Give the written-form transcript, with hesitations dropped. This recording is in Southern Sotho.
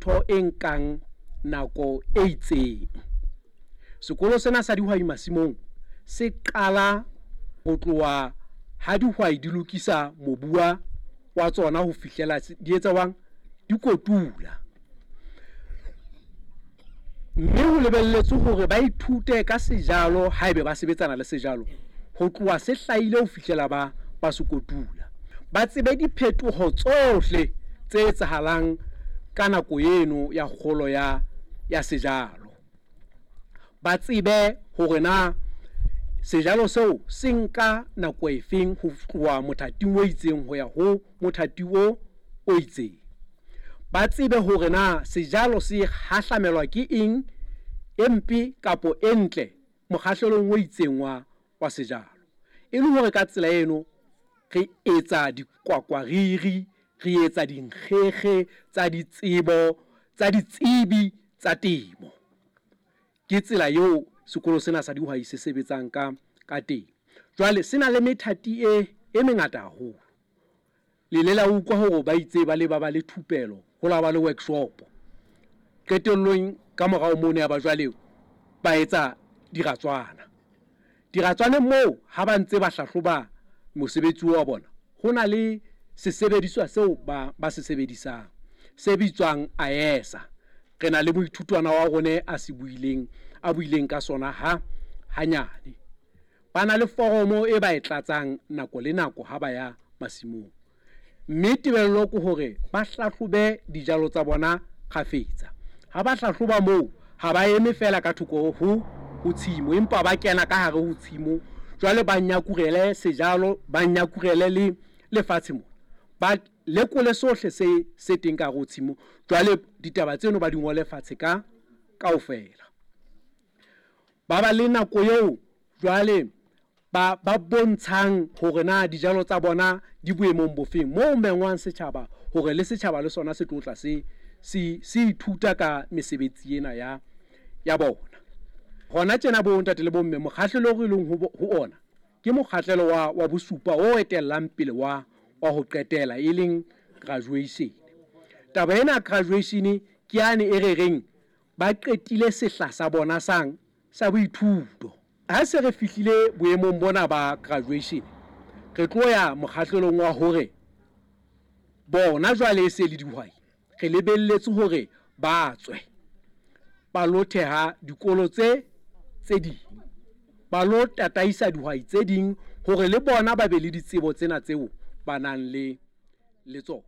ntho e nkang nako e itseng. Sekolo sena sa dihwai masimong se qala ho tloha ha dihwai di lokisa mobu wa tsona ho fihlela di etsa jwang, di kotula. Mme ho lebelletswe hore ba ithute ka sejalo haebe ba sebetsana le sejalo ho tloha se hlahile ho fihlela ba se kotula. Ba tsebe diphetoho tsohle tse etsahalang ka nako eno ya kgolo ya sejalo. Ba tsebe hore na sejalo seo se nka nako efeng ho tloha mothating o itseng ho ya ho mothati o itseng. Ba tsebe hore na sejalo se hahlamelwa ke eng e mpe kapa e ntle mokgahlelong o itseng wa sejalo. E le hore ka tsela eno re etsa dikwakwariri, re etsa dinkgekge tsa ditsebo tsa ditsebi tsa temo. Ke tsela eo sekolo sena sa dihwai se sebetsang ka teng. Jwale se na le methati e mengata haholo. Le ile la utlwa hore ba itse ba le ba le thupelo, ho la ba le workshop. Qetellong ka morao mono ya ba jwale ba etsa diratswana. Diratswaneng moo ha ba ntse ba hlahloba mosebetsi wa bona, ho na le sesebediswa seo ba se sebedisang se bitswang AESA. Re na le moithutwana wa rona a se buileng, a buileng ka sona ha hanyane. Ba na le foromo e ba e tlatsang nako le nako ha ba ya masimong. Mme tebello ke hore ba hlahlobe dijalo tsa bona kgafetsa. Ha ba hlahloba moo, ha ba eme fela ka thoko ho tshimo, empa ba kena ka hare ho tshimo. Jwale ba nyakurele sejalo, ba nyakurele le lefatshe mona. Ba lekole sohle se teng ka hare ho tshimo. Jwale ditaba tseno ba di ngole fatshe ka kaofela. Ba ba le nako eo jwale ba bontshang hore na dijalo tsa bona di boemong bofeng, moo mengwang setjhaba hore le setjhaba le sona se tlo tla se ithuta ka mesebetsi ena ya bona. Hona tjena bo ntate le bomme, mokgahlelo re leng ho ona ke mokgahlelo wa bosupa o etellang pele wa ho qetela, e leng graduation. Taba ena graduation ke yane e re reng ba qetile sehla sa bona sa boithuto. Ha se re fihlile boemong bona ba graduation, re tlo ya mokgahlelong wa hore bona jwale e se le dihwai, re lebelletse hore ba tswe ba lo theha dikolo tse ding, ba lo tataisa dihwai tse ding hore le bona ba be le ditsebo tsena tseo ba nang le tsona.